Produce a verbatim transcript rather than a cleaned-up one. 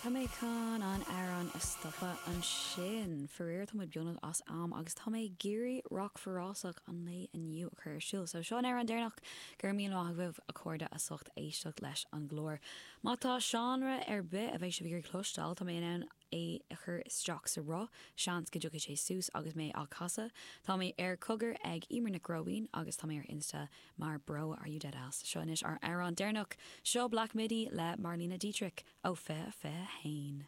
Tá mé chun an amhrán a stopadh ansin. Faraor tá muid beagnach as am agus tá mé ag iarraidh Rock Forásach an lae inniu a chur ar siúl. So seo an amhrán deireanach go raibh míle maith agaibh a chairde as ucht éisteacht leis an gclár. Má tá seánra ar bith a bheidh sibh ag cloisteáil tá mé in ann é a chur isteach sa roth, seans go dtiocfaidh sé suas agus mé á chasadh. Tá mé ar cogar ag Emer Nic Róibín agus tá mé ar Insta mar bro are you dead ass. Seo anois ár amhrán deireanach seo Black Midi le Marlene Dietrich ó fiche fiche haon.